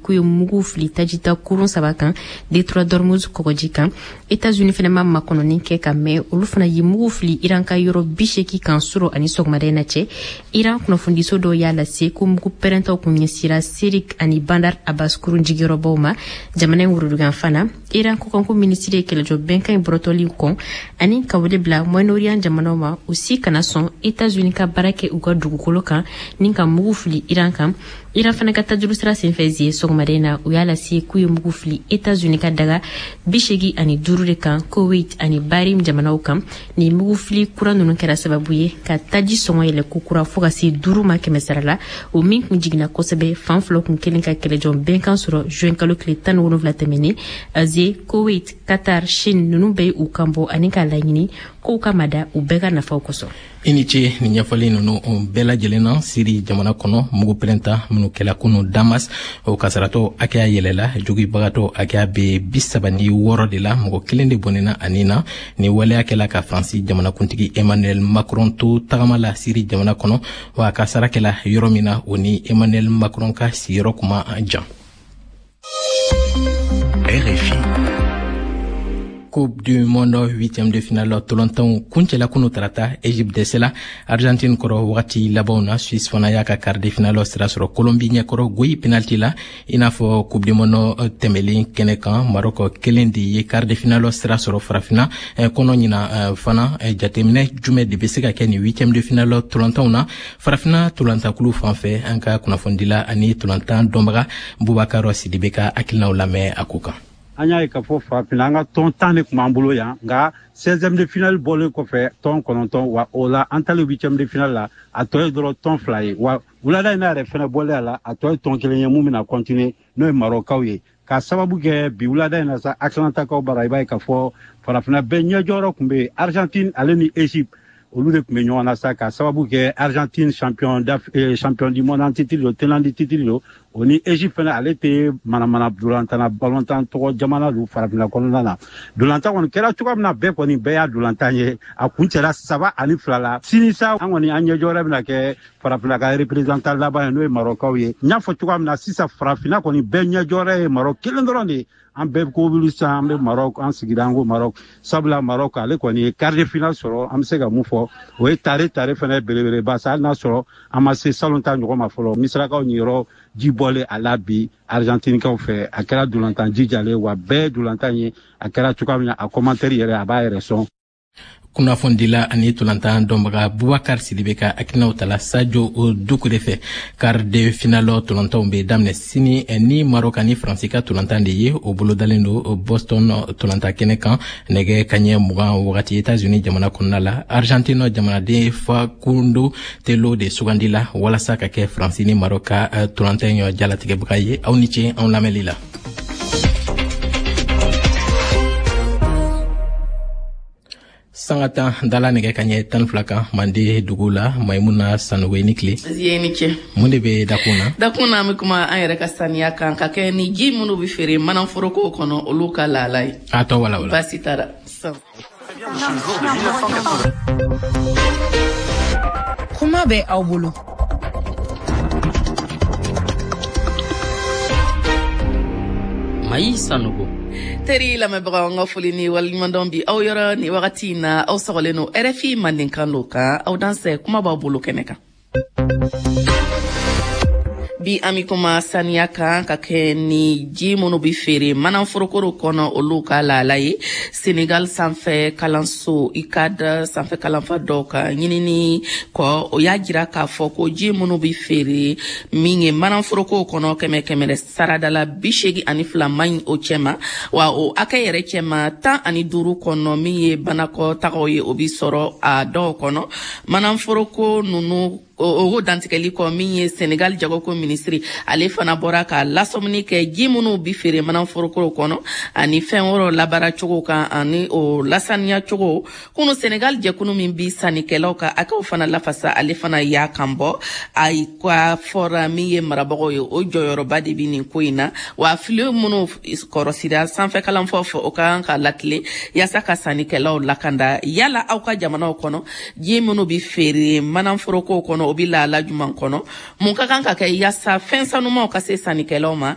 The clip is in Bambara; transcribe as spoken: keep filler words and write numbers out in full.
K'u ye mugu fili tajita kurun saba kan détroit d'Ormuz kɔgɔji kan. États-Unis fana ma makɔnɔni kɛ ka mɛn, olu fana ye mugu fili Iran ka yɔrɔ bi seeki kan surɔ ani sɔgɔmada in na cɛ. Iran kunnafonidiso dɔw y'a lase ko mugu pɛrɛntaw kun ɲɛsira Sirik ani Bandar Abbas kurun jigiyɔrɔbaw ma jamana in woroduganfan na. Iran kɔkanko minisiri ye kɛlɛjɔ bɛnkan in bɔrɔtɔli kɔn ani ka wele bila Moyen-Orient jamanaw ma, u si kana sɔn États-Unis ka baara kɛ u ka dugukolo kan ni ka mugu fili Iran kan. Iran fana ka tajuru sira senfɛ zie sɔgɔmada in na, u y'a lase k'u ye mugu fili États-Unis ka daga bi seegi ani duuru de kan Koweït ani Bahrain jamanaw kan. Ni mugu fili kura ninnu kɛra sababu ye ka taji sɔngɔ yɛlɛ kokura fo ka se duuru ma kɛmɛ sara la, o min kun jiginna kosɛbɛ fan fila kun kelen ka kɛlɛjɔ bɛnkan sɔrɔ juin kalo tile tan ni wolonwula tɛmɛnen. Asie, Koweït, Qatar, Chine ninnu bɛɛ ye u kan bɔ ani k'a laɲini k'u ka mada u bɛɛ ka nafaw kosɔn. I ni ce nin ɲɛfɔli ninnu bɛɛ lajɛlen na. Siri jamana kɔnɔ, mugu pɛrɛnta minnu kɛla kunu Damas, o kasaratɔ hakɛya yɛlɛla, jogibagatɔ hakɛya bɛ bi saba ni wɔɔrɔ de la, mɔgɔ kelen de bɔnɛna ani na. Ni waleya kɛla ka Faransi jamanakuntigi Emmanuel Macron to tagama la Siri jamana kɔnɔ, wa a kasara kɛla yɔrɔ min na, o ni Emmanuel Macron ka sigiyɔrɔ kuma jan. R F I. Coupe du monde huitième de finale tolantanw kuncɛla kunu tarata. Egypte dɛsɛla Argentine kɔrɔ wagati labanw na. Suisse fana y'a ka quart de finale sira sɔrɔ Colombie ɲɛkɔrɔ goyi penalty la. I n'a fɔ Coupe du monde tɛmɛlen kɛnɛ kan, Maroc kelen de ye quart de finale sira sɔrɔ Farafina kɔnɔ ɲina fana. Jateminɛ jumɛn de bɛ se ka kɛ nin huitième de finale tolantanw na Farafinna tolantankulu fan fɛ? An ka kunnafonidila ani tolantan dɔnbaga Bubakar Sidibe ka hakilinaw lamɛn a ko kan. An y'a ye k'a fɔ Farafinna, an ka tɔn tan de tun b'an bolo yan, nka seizième de finale bɔlen kɔfɛ, tɔn kɔnɔntɔn wa o la, an talen huitième de finale la, a tɔ ye dɔrɔn tɔn fila ye. Wa wulada in na yɛrɛ fɛnɛ bɔlen a la, a tɔ ye tɔn kelen ye mun bɛna continuer, n'o ye Marɔkaw ye. K'a sababu kɛ bi wulada in na sa, Atlantakaw bara, i b'a ye k'a fɔ Farafinna bɛɛ ɲɛjɔyɔrɔ tun bɛ yen. Argentine ale ni Egypte, olu de tun bɛ ɲɔgɔn na sa, k'a sababu kɛ Argentine champion eh, champion du monde en titre don, tenant du titre don. O ni Egypte fɛnɛ, ale tɛ manamana dolantan balontan tɔgɔ jamana don Farafinna kɔnɔna na. Dolantan kɔni kɛra cogoya min na, bɛɛ kɔni bɛɛ y'a dolantan ye, a kun cɛla saba ani fila la. Sini sa, an kɔni an ɲɛjɔyɔrɔ bɛna kɛ Farafinna ka représentant laban ye, n'o ye Marɔkaw ye. N y'a fɔ cogoya min na sisan, Farafinna kɔni bɛɛ ɲɛjɔyɔrɔ ye Marɔk kelen dɔrɔn de ye. An bɛɛ ko wuli sisan, an bɛ Marɔk, an sigira, an ko Marɔk, sabula Marɔk ale kɔni ye quart de finale sɔrɔ. An bɛ se ka mun fɔ? O ye tare tare fɛnɛ belebeleba sa, hali n'a sɔrɔ an ma se salon ta ɲɔgɔn ma fɔlɔ. Misirakaw ɲiyɔrɔ ji bɔlen a la bi Argentinikaw fɛ, a kɛra dolantan jijalen wa bɛɛ dolantan ye. A kɛra cogoya min na, a commentaire yɛrɛ, a b'a yɛrɛ sɔn. Kunnafonidila ani tolantan dɔnbaga Bubakar Sidibe ka hakilinaw tala Sajo Dukure fɛ. Quart de finale tolantanw bɛ daminɛ sini ni Maroc ani Faransi ka tolantan de ye. O bolodalen don Boston tolantan kɛnɛ kan nɛgɛ kaɲɛ mugan wagati, Etats-Unis jamana kɔnɔna la. Argentine jamanaden Facundo Telo de sugandila walasa ka kɛ Faransi ni Maroc ka tolantan ɲɔ jalatigɛbaga ye. Aw ni ce anw lamɛnli la. Sanga tan dala nɛgɛ ka ɲɛ tan fila kan Mande dugu la. Maimuna Sanogo, i ni tile. Ye ni ce. Mun de bɛ dakun na? Dakun na, an bɛ kuma an yɛrɛ ka saniya kan ka kɛ ni ji minnu bɛ feere manaforokow kɔnɔ, olu ka lahala ye. A tɔ wala wala. Baasi t'a la. Kuma bɛ aw bolo. Mayi Sanogo. Teri lamɛnbagaw, an ka foli ni waleɲumandɔn bi aw yɔrɔ ni wagati in na. Aw sɔgɔlen no R F I Mandenkan lo kan. Aw dansɛ, kuma b'aw bolo kɛnɛ kan. Bi an bi kuma saniya kan ka kɛ ni ji minnu bi feere manaforokow kɔnɔ, olu ka lahala ye. Senegal sanfɛ kalanso U C A D sanfɛ kalanfa dɔw ka ɲinini kɔ, o y'a jira k'a fɔ ko ji minnu bi feere min ye manaforokow kɔnɔ, kɛmɛ kɛmɛ saradala bi seegi ani fila man ɲi o cɛma, wa o hakɛ yɛrɛ cɛma, tan ani duuru kɔnɔ min ye banakɔ tagaw ye, o bi sɔrɔ a dɔw kɔnɔ manaforoko ninnu. O dantigɛli kɔ, min ye Senegal jagoko minisiri, ale fana bɔra ka lasɔmini kɛ ji minnu bi feere manaforokow kɔnɔ ani fɛn wɛrɛw labaara cogo kan ani o lasaniya cogo. Kunu, Senegal jɛkulu min bi sannikɛlaw ka hakɛw fana lafasa, ale fana y'a kan bɔ. A ka fɔra min ye marabagaw ye, o jɔyɔrɔba de bi nin ko in na, wa fili minnu kɔrɔsira sanfɛ kalanfaw fɛ, o ka kan ka latilen yaasa ka sannikɛlaw lakanda. Yala aw ka jamanaw kɔnɔ, ji minnu bi feere manaforokow kɔnɔ, o bi lahala juman kɔnɔ? Mun ka kan ka kɛ yaasa fɛn sanumaw ka se sannikɛlaw ma?